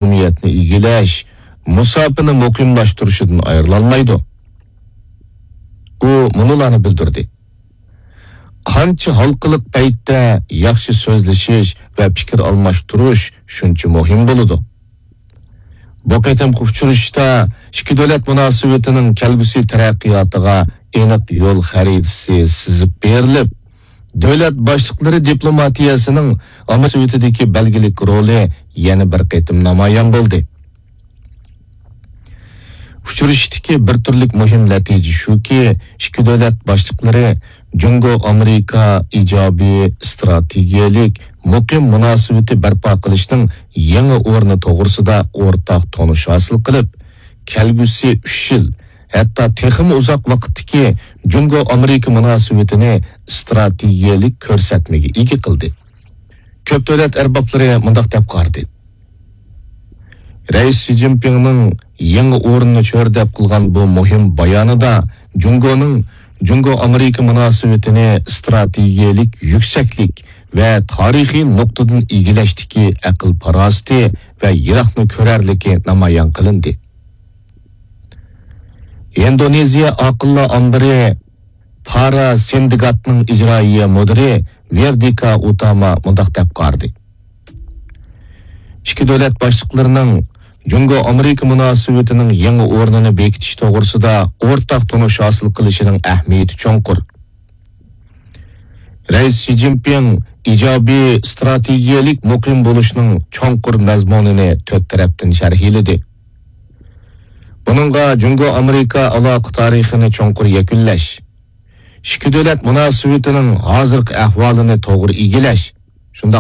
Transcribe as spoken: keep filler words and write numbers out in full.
مەھرۇمىيەتنى ئىگىلەش مۇساپىنى مۇقىملاشتۇرۇشىدىن ئايرىلالمايدۇ. ئۇ مۇنۇلارنى بىلدۈردى: قانچە ھالقىلىق پەيتتە ياخشى سۆزلىشىش ۋە پىكىر ئالماشتۇرۇش شۇنچە مۇھىم بولىدۇ. بۇ قېتىمقى ئۇچرىشىشتا ئىككى دۆلەت مۇناسىۋىتىنىڭ كەلگۈسى تەرەققىياتىغا ئېنىق يول خەرىتىسى سىزىپ بېرىلىپ، دۆلەت باشلىقلىرى دىپلوماتىيەسىنىڭ ئاممىۋى مۇناسىۋىتىدىكى بەلگىلىك رولى يەنە بىر قېتىم نامايان بولدى. ئۇچرىشىشتىكى بىر تۈرلۈك مۇھىم نەتىجە شۇكى، ئىككى دۆلەت باشلىقلىرى جۇڭگو ئامېرىكا ئىجابىي ئىستراتېگىيەلىك مۇقىم مۇناسىۋىتى بەرپا قىلىشنىڭ يېڭى ئورنى توغرىسىدا ئورتاق تونۇش ھاسىل قىلىپ، كەلگۈسى ئۈچ يىل، ھەتتا تېخىمۇ ئۇزاق ۋاقىتتىكى جۇڭگو ئامېرىكا مۇناسىۋىتىنى ئىستراتېگىيەلىك كۆرسەتمىگە ئىگە قىلدى. كۆپ دۆلەت ئەربابلىرى مۇنداق دەپ قارىدى: رەئىس شى جىنپىڭنىڭ يېڭى ئورۇننى چۆرىدەپ قىلغان بۇ مۇھىم بايانىدا جۇڭگونىڭ جۇڭگو ئامېرىكا مۇناسىۋىتىنى ئىستراتېگىيەلىك يۈكسەكلىك ۋە تارىخىي نۇقتىدىن ئىگىلەشتىكى ئەقىل پاراسىتى ۋە يىراقنى كۆرەرلىكى نامايان قىلىندى. ئىندونېزىيە ئاقىللار ئامبىرى پارا سىندىكاتنىڭ ئىجرائىيە مۇدىرى ۋېردىكا ئۇتاما مۇنداق دەپ قارىدى: ئىككى دۆلەت باشلىقلىرىنىڭ جۇڭگو ئامېرىكا مۇناسىۋىتىنىڭ يېڭى ئورنىنى بېكىتىش توغرىسىدا ئورتاق تونۇش ھاسىل قىلىشىنىڭ ئەھمىيىتى چوڭقۇر. رەئىس شى جىنپىڭ ئىجابىي ئىستراتېگىيەلىك مۇقىم بولۇشنىڭ چوڭقۇر مەزمۇنىنى تۆت تەرەپتىن شەرھلىدى. بۇنىڭغا جۇڭگو ئامېرىكا ئالاقە تارىخىنى چوڭقۇر يەكۈنلەش، ئىككى دۆلەت مۇناسىۋىتىنىڭ ھازىرقى ئەھۋالىنى توغرا ئىگىلەش